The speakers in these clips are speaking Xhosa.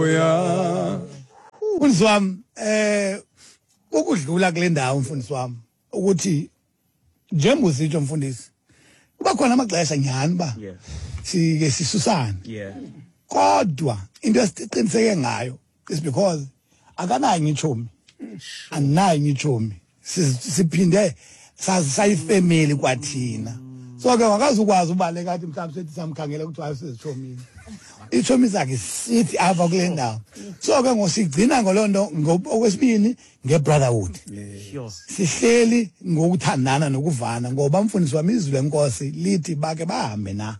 Haleluya. Mfundisi wami, ukudlula kule ndawo, mfundisi wami, ukuthi njengoba usitsho, mfundisi, kuba khona amaxesha nyhani uba sike sisusane, kodwa into esiqiniseke ngayo is because akanayo itshomi, andinayo itshomi, siphinde sayifemeli kwathina. So ke wakazukwazi ubaleka athi mhlawumbi sethi samkhangela kuthiwa sezitshomini, itshomi zakhe sithi apha kule ndawo. So ke ngosigcina ngoloo nto. Okwesibini, nge-brotherhood, sihleli ngokuthandana nokuvana, ngoba, mfundisi wami, izwi lenkosi lithi bake bahambe na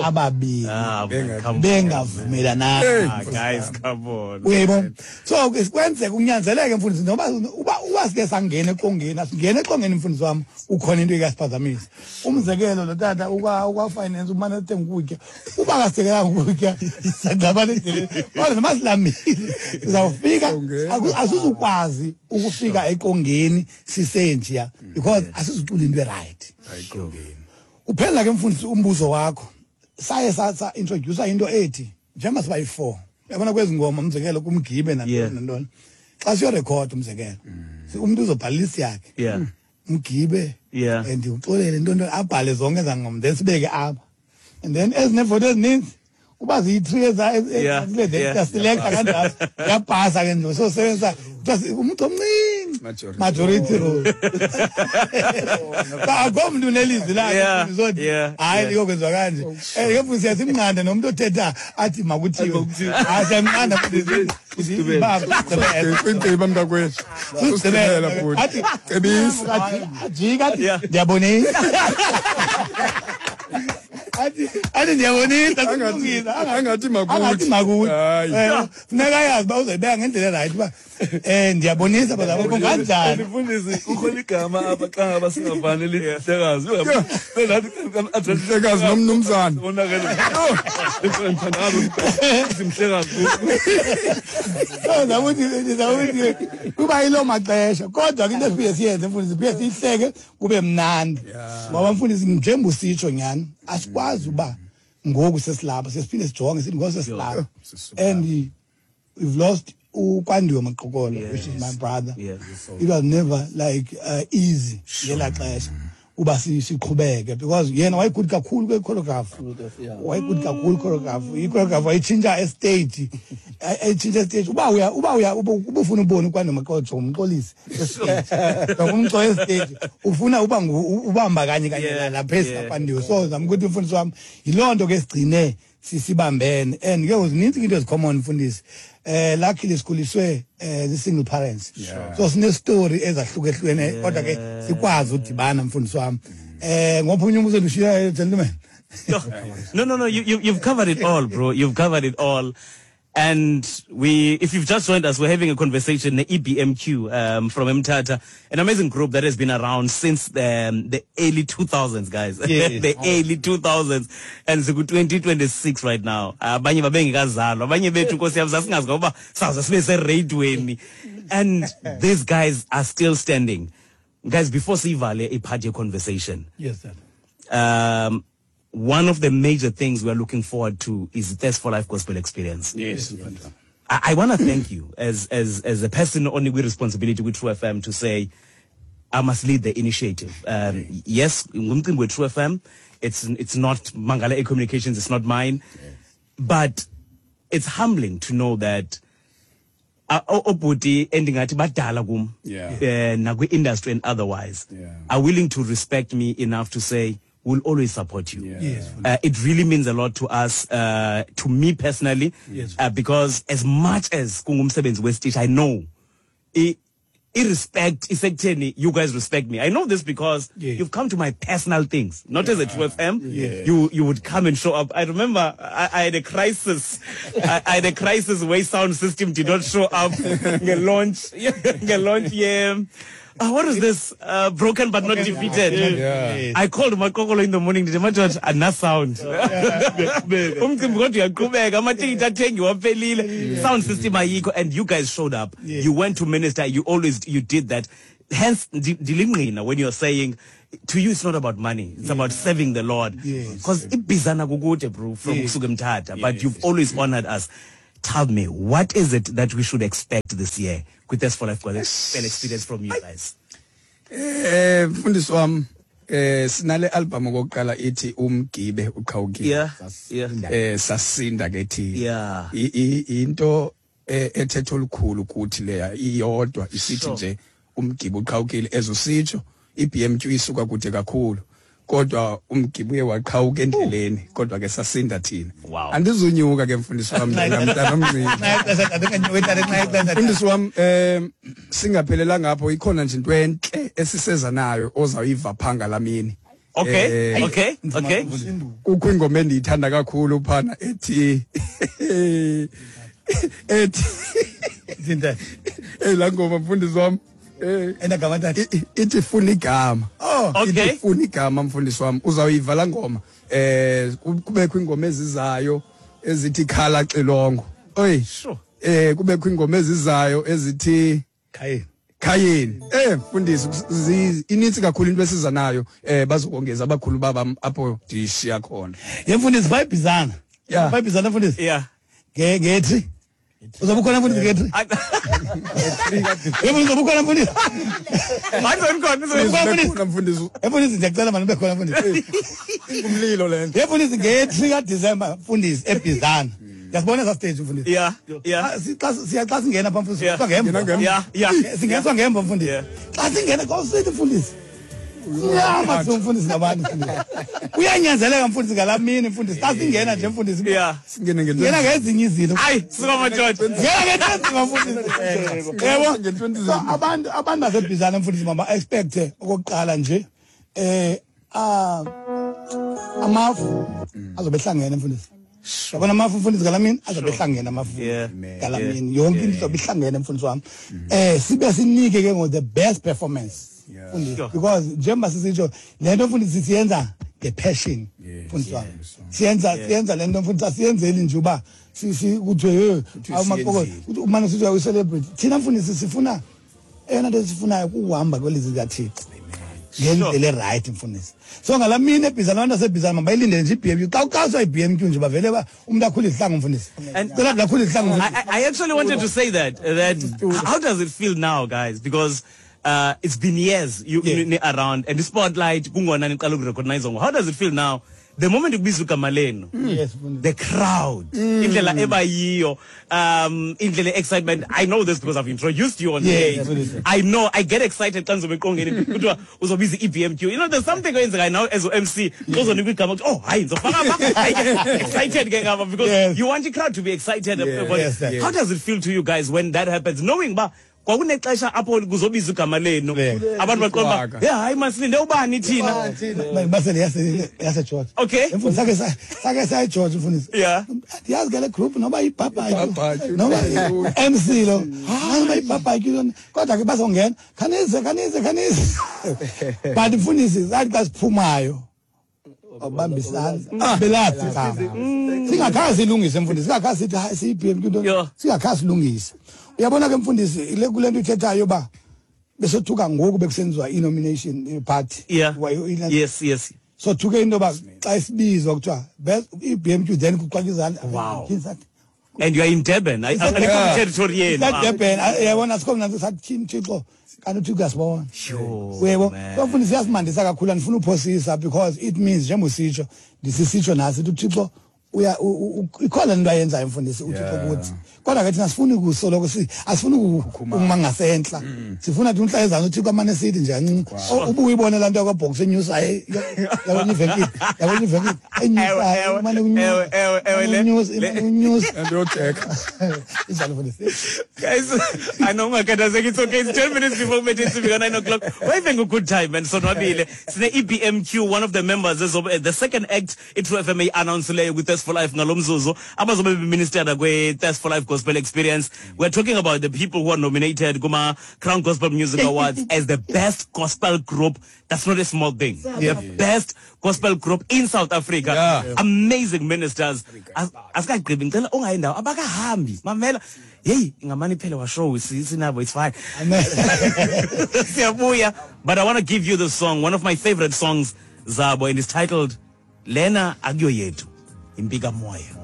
ababini Ah, man, come on. bengavumelananga? Ah, guys, come on. Uyayibona? So ke kwenzeka kunyanzeleke, mfundisi, noba uba sike sangena eqongeni, asingene eqongeni, mfundisi wami, ukhona into ekasiphazamisa. Umzekelo, lo tata ukwa-finance umane ethenga ukutya, uba kasekelanga ukutya, sangxabana endleleni, kodwa noma silambile sizawufika. Asizukwazi ukufika eqongeni sisenjiya because asizucula into e-right. Uphela ke, mfundisi, umbuzo wakho, saye sa introduce into ethi njengoba siba yi-four, uyabona, kwezi ngoma, umzekelo kumgibe nantoni nantoni, xa siyorekhoda, umzekelo, umntu uzobhala ilist yakhe, umgibe and uxolele ntoni, abhale zonke ezaa ngoma, then sibeke apha, and then ezinevoto ezininzi uba ziyi-three siyaselekta kanjalo, yapasa ke nje. So sebenzisa umntu omncinci. Majority. Majority rule. Akho mntu unelizwi lakhe. Mfundisi, hayi, liyokwenziwa kanje. Ke mfundisi, siyasimnqanda nomntu othetha athi makuthiwe. Hayi, siyamnqanda, mfundisi. Kwintsiba, mntakwethu, usigqibela futhi. Athi Cebisa. Athi ajika, athi ndiyabonisa, athi ndiyabonisa, kulungile. Angathi makuthi. Angathi makuthi. Hayi. Funeka ayazi uba uzoyibeka ngendlela right, uba ndiyabonisa bazalwane kanjani. Mfundisi, kukho igama apha xa ngaba singavani, lithi mhlekazi. Mhlekazi nomnumzana. Onakele. Mhlekazi. So ndizawuthi kuba yiloo maxesha, kodwa ke into esiphinde siyenze, mfundisi, siphinde siyihleke kube mnandi, ngoba, mfundisi, njengoba usitsho nyhani, asikwazi uba ngoku sesilapha sesiphinde sijonge sithi ngoku sesilapha and we've lost uKwandiwe Maqokolo, which is my brother. It was never like easy ngelaa xesha uba siqhubeke because yena wayegood kakhulu kwe-choreograph, wayegood kakhulu choreograph. I-choreograph wayitshintsha estage, ayitshintsha estage. Uba uya uba ufuna ubone uKwandiwe Maqokolo, jonga umxolisi estage, jonga umxolo estage, ufuna uba ubamba kanye kanye lapha esiKwandiwe. So zama ukuthi, mfundisi wami, yiloo nto ke sigcine sisibambene. And ke zininzi into ezicommon, mfundisi. Luckily sikhuliswe zi-single parents, so sine-story ezahlukehlukene, kodwa ke sikwazi udibana, mfundisi wami. Ngopha unye umbuzo endishiyayo, gentleman. No. You've covered it all, bro. You've covered it all. And we, if you've just joined us, we're having a conversation, the EBMQ from Mthatha, an amazing group that has been around since the early 2000s, guys. The early 2000s. And so 2026 right now. Abanye babengekazalwa, abanye bethu, Nkosi yam, sasingazi ngoba sawuze sibe seradweni. And these guys are still standing. Guys, before sivale ipart conversation, Yes, sir. One of the major things we are looking forward to is the Thirst for Life Gospel Experience. I want to thank you as a person only with responsibility with True FM to say, I must lead the initiative. Yes, ngumcimbi we True FM. It's not Mangala A Communications, it's not mine. But it's humbling to know that obhuti endingathi badala kum nakwi-industry and otherwise are willing to respect me enough to say, "We'll always support you." It really means a lot to us, to me personally, because as much as kungumsebenzi wesitishi, I know i-respect isekutheni you guys respect me. I know this because you've come to my personal things, not as a True FM. You would come and show up. I remember I had a crisis. I had a crisis where sound system did not show up. Nge-launch, yeah. What is this? Broken but not defeated. I called Makokolo in the morning. Ndithi, "Madoda, ana sound. Umcimbi kodwa uyaqhubeka, amatikiti athengiwe aphelile. Sound system ayikho," and you guys showed up. You went to minister. You always, you did that. Hence, ndilingqina when you're saying, to you it's not about money. It's about serving the Lord. Because ibizana kukude, bro, from kusuka eMthatha, but you've always honored us. Tell me, what is it that we should expect this year with Thirst for Life Gospel Experience from you guys? Mfundisi wami, sinale album okokuqala ithi Umgibe Uqhawukile. Sasinda ke thina. Into ethethe olukhulu kuthi leya iyodwa isithi nje umgibe uqhawukile, ezusitsho iBMQ isuka kude kakhulu, kodwa umgibe uye waqhawuka endleleni, kodwa ke sasinda thina. Andizunyuka ke, mfundisi wami, njengamntana omncinci. Mfundisi wami, singaphelelanga apho, ikhona nje into entle esiseza nayo ozawuyiva phanga lamini. Kukho ingoma endiyithanda kakhulu phana ethi Zinto. Laa ngoma, mfundisi wami, Enagama tata. Ithi Funa Igama. Oh. Ithi Funa Igama, mfundisi wami, uzawuyiva laa ngoma. Kubekho ingoma ezizayo ezithi Khala Xilongo. Oy. Kubekho ingoma ezizayo ezithi Khayeni. Khayeni. Mfundisi, inintsi kakhulu into esiza nayo. Bazokongeza abakhulu baba apho ndishiya khona. Ye mfundisi, bayibhizana. Bayibhizana, mfundisi. Ngethi. Uzobe ukhona, mfundisi, ngethi. Ye mfundisi, uzobe ukhona, mfundisi. Hayi, ngikhona, ngizobe Ukhona, mfundisi. Ukhona, mfundisi. Ye mfundisi, ndiyacela mani ube khona, mfundisi. Umlilo le nto. Ye mfundisi, nge-3 kaDisemba, mfundisi, eBhizana. Ndiyasibona esa stage, mfundisi. Yeah. Xa singena pha, mfundisi, singeniswa ngemva. Ngena ngemva. Yeah. Singeniswa ngemva, mfundisi. Xa singena, xa usithi, mfundisi, nyama mfundisi ngabantu, mfundisi. Kuyanyanzeleka, mfundisi, ngalaa mini, mfundisi. Xa singena nje, mfundisi. Singene ngento. Ngena ngezinye izinto. Hayi, suka madoda. Ngena ngento enzima, mfundisi. Yebo. Ngento enzima. So, abantu baseBhizana, mfundisi, mama expect okokuqala nje amafu azobe ehlangene, mfundisi. Yabona amafu, mfundisi, ngalaa mini azobe ehlangene amafu. Ngalaa mini yonke into izobe ihlangene, mfundisi wami. Sibe sinike ke ngo the best performance. Mfundisi, because njengoba sisitsho le nto, mfundisi, siyenza nge-passion, mfundisi wami. Siyenza le nto, mfundisi, asiyenzeli nje uba kuthiwe hey, Kuthiwe awumaqoko, siyenzile. uthi umane sithi uyi-celebrity. Thina, mfundisi, sifuna eyona nto esifunayo kukuhamba kwelizwi likaThixo ngendlela e-right, mfundisi. So ngalaa mini eBhizana, abantu baseBhizana mabayilindele nje i-BMQ. Xa uxaswa i-BMQ nje, bavele ba umntu akhule izihlangu, mfundisi. Cela nje akhule izihlangu, mfundisi. I actually wanted to say that how does it feel now, guys? Because it's been years you around and the spotlight kungona niqala ukurecognize. How does it feel now? The moment ukubizwa igama lenu, Yes, mfundisi. the crowd, indlela ebayiyo, indlela excitement. I know this because I've introduced you on stage. Mfundisi. I know I get excited xa ndizobe eqongeni kuthiwa uzobiza i-EBMQ. There's something oyenzekayo now as u-MC xa uzonikwa igama kuthi, oh hayi, ndizofaka apha. I get excited ke ngapha because you want the crowd to be excited about it. Yes, sir. How does it feel to you guys when that happens, knowing ba kwakunexesha apho kuzobizwa igama lenu, abantu baqonda uba, Iqwaka. yeah, hayi, masilinde ubani thina? Basele yaseGeorge. Mfundisi, sake saya eGeorge, mfundisi. Andiyazi ke le group noba yibhabhatyu. Ibhabhatyu. Noba MC lo. Noba yibhabhatyu lona. Kodwa ke bazongena. Khanize, khanize, khanize. But mfundisi, sathi xa siphumayo, wabambisana. Belathi igama. Singakhazi silungise, mfundisi. Singakhazi sithi hayi siyi-BMQ nto. Singakhazi silungise. Uyabona ke, mfundisi, le kule nto ithethayo ba besothuka ngoku bekusenziwa i-nomination party. Yes. Sothuke into yoba xa isibizwa kuthiwa best i-BMQ, then kuqwaka izandla. Wow. Sathi, And you are in Durban. I territory yenu. Durban, uyabona sikho mna sathi Thixo kanti uThixo uyasibona. Sure, Uyebo? man. So mfundisi, iyasimandisa kakhulu, andifuna uphosisa because it means njengoba usitsho, ndisisitsho nasi uthi uThixo uya ikhona into ayenzayo, mfundisi, uThixo kuthi. Kodwa ke thina sifuna ukusoloko asifuni ukuma ngasentla. Sifuna thi umhla ezantsi uThixo amane sithi nje kancinci. Ubuye ubone laa nto yakwaBox enyusayo, yabona ivenkile, yabona ivenkile enyusayo, imane kunyusa, Ewe, ewe, imane kunyusa, imane kunyusa. And yojeka. Injalo, mfundisi. Guys, I know ungakhathazeki, it's okay. It's 10 minutes before kubethe intsimbi ka-9 o'clock. We're having a good time, man. Sonwabile. Sine EBMQ, one of the members, the second act iTrue FM announce-leyo kwi-Thirst for Life ngalo mzuzu. Abazobe beminister kwi-Thirst for Life Gospel Experience. We're talking about the people who are nominated kuma Crown Gospel Music Awards as the best gospel group. That's not a small thing. The best gospel group in South Africa. Amazing ministers. Asikagqibi, ngicela ungayi ndawo, abakahambi. Mamela. Hey, ngamane iphele wa show sinabo, it's fine. Amen. Siyabuya. But I want to give you the song, one of my favorite songs zabo, and it's titled Lena Akuyo Yethu. Impika Moya.